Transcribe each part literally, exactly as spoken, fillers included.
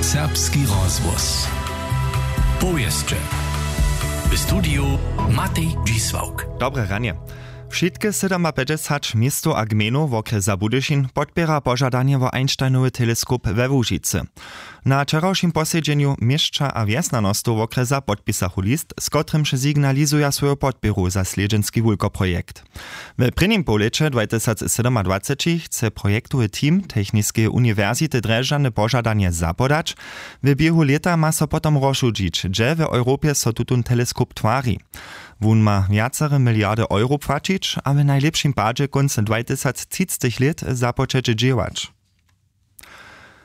Serbski rozhłos. Powěsće. W studiju Matej Dźisławk. Dobre ranje. Wšitke sydomapjećdźesać městow a gmejnow wokrjesa Budyšin podpěra požadanje wo Einsteinowy teleskop we Łužicy. Na wčerawšim posedźenju měšća a wjesnjanostow wokrjesa podpisachu list, z kotrymž signalizuja swoju podpěru za slědźenski wulkoprojekt. W prěnim połlěće dwajtysacsydomadwaceći chce projektowy team Techniskeje uniwersity Drježdźany požadanje zapodać. W běhu lěta ma so potom rozšudźić, hdźe w Europje so tutón teleskop twari. Wón ma wjacere miliardy euro płaćić a w najlěpšim padźe kónc dwajtysactřictych lět započeć dźěłać.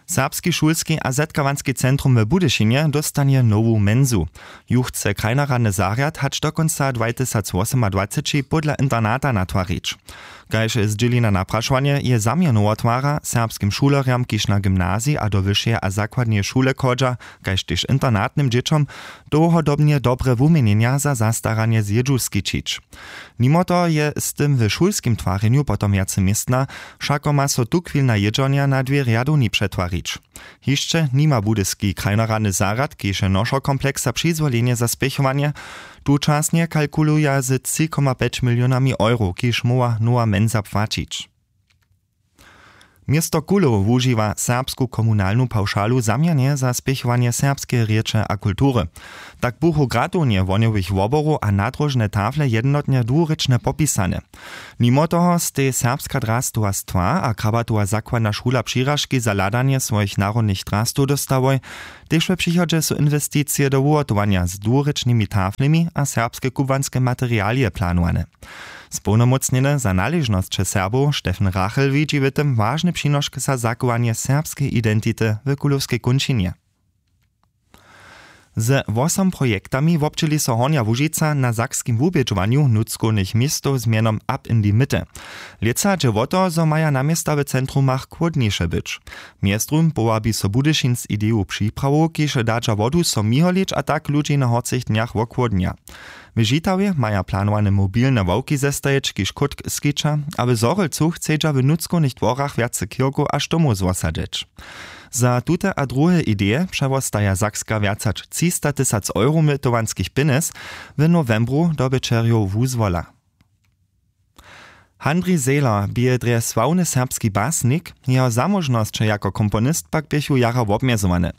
Serbski šulski a zetkawanski centrum w Budyšinje dóstanje nowu mensu. Ju chce krajnoradny zarjad hač do kónca dwajtysacwosomadwaceći pódla internata natwarić. Kaž zdźěli na naprašowanje, je zaměr nowotwara serbskim šulerjam, kiž na gymnaziji a do wyšeje a zakładneje šule chodźa, kaž tež internatnym dźěćom, dołhodobnje dobre wuměnjenja za zastaranje zjědźu skićić. Nimo toho je z tym w šulskim twarjenju potom wjace městna, wšako ma so tuchwilna jědźornja na dwě rjadowni přetwarić. Hišće nima budyski krajnoradny zarjad, kiž je nošow kompleksa přizwolenje za spěchowanje. Tučasnje kalkuluja z tři koma pjeć milionami euro, kiž móhła nowa mensa płaćić. Město Kulow wužiwa serbsku komunalnu pawšalu zaměrnje za spěchowanje serbskeje rěče a kultury. Tak buchu gratownje wohnjowych woborow a nadróžne tafle jednotnje dwurěčnje popisane. Nimo toho stej serbska drastowa stwa a krabatowa zakładna šula přiražki za hladanje swojich narodnych drastow dóstałoj. Tež w přichodźe su inwesticije do wuhotowanja z dwurěčnymi taflemi a serbske kubłanske materialije planowane. Społnomócnjeny za naležnosće Serbow Steffen Rachel widźi w tym wažny přinošk za zachowanje serbskeje identity w kulowskej kónčinje. Ze wosom projektami wobdźěli so Hornja Łužica na sakskim wubědźowanju nutřkownych městow z mjenom Up in the Mitte. Lětsa dźe wo to, zo maja na města w centrumach chłódniše być. Mjeztym powabi so Budyšin z ideju připrawow, kiž dadźa wodu so miholić a tak ludźi na horcych dnjach wochłódnja. W Žitawje maja planowane mobilne ławki zestajić, kiž chódk skića, a w Zhorjelcu chcedźa w nutřkownych dworach wjace kirkow a štomow zwosadźeć. Za tute a druhe ideje přewostaja Sakska wjac hač třista tysac euro mytowanskich pjenjez. W nowembru dobyćerjow wuzwola. Handrij Zehler bě drje sławny serbski basnik, jeho zamóžnosće jako komponist pak běchu jara wobmjezowane.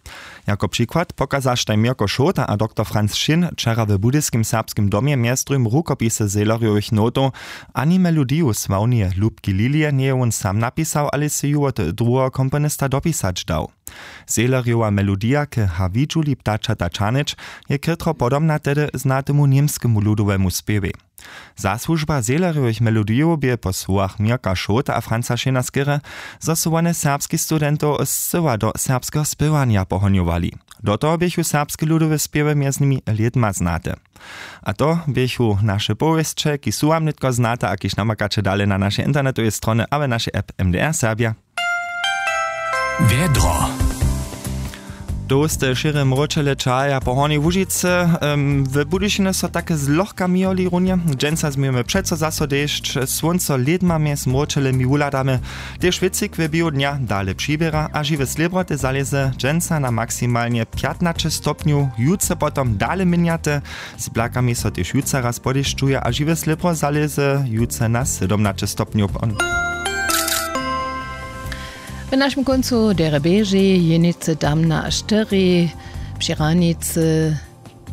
Jako přikład pokazaštaj Měrko Šołta a doktor Franc Šin wčera w budyskim serbskim domje mjez druhim rukopisy Zehlerjowych notow. Ani melodiju sławneje Lubki Lilije njeje wón sam napisał, ale sej ju wot druheho komponista dopisać dał. Zehlerjowa melodija k Hawidźuli ptačata čahnyć je chětro podobna tehdy znatemu němskemu ludowemu spěwej. Zasłužba Zehlerjowych melodijow bě po słowach Měrka Šołta a Franca Šina skerje, zo su wone serbskich studentow scyła do serbskeho spěwanja pohonjowali. Do toho běchu serbske ludowe spěwy mjez nimi lědma znate. A to běchu naše powěsće, kiž su wam nětko znate a kiž namakaće dale na našej internetowej stronje a w našej app M D R Serbja. Wjedro. Dołste šěre mróčele čahaja po Hornjej Łužicy. Em, w Budyšinje so take zlochka mijeli runje. Dźensa změjemy přeco zaso dešć, słónco lědma mjez mróčelemi wuhladamy. Tež wětřik w běhu dnja dale přiběra a žiwe slěbroty zalěze dźensa na maksimalnje pjatnaće stopnjow, jutře potom dale měnjate. Z blakami so tež jutře raz podešćuje a žiwe slěbro zalěze jutře na sydomnaće stopnjow. W našim kóncu derje běži, jenicy tam na štyri, při hranicy,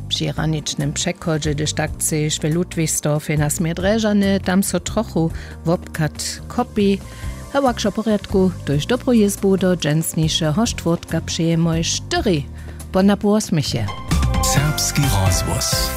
při hraničnym přechodźe, hdyž tak chceš, w Ludwigsdorfje na směr Drježdźany, tam so trochu wobchad kopi. Hewak wšo w porjadku, tuž dobru jězbu do dźensnišeho štwórtka přejemoj štyri. Pon na półosmychje. Serbski rozhłos.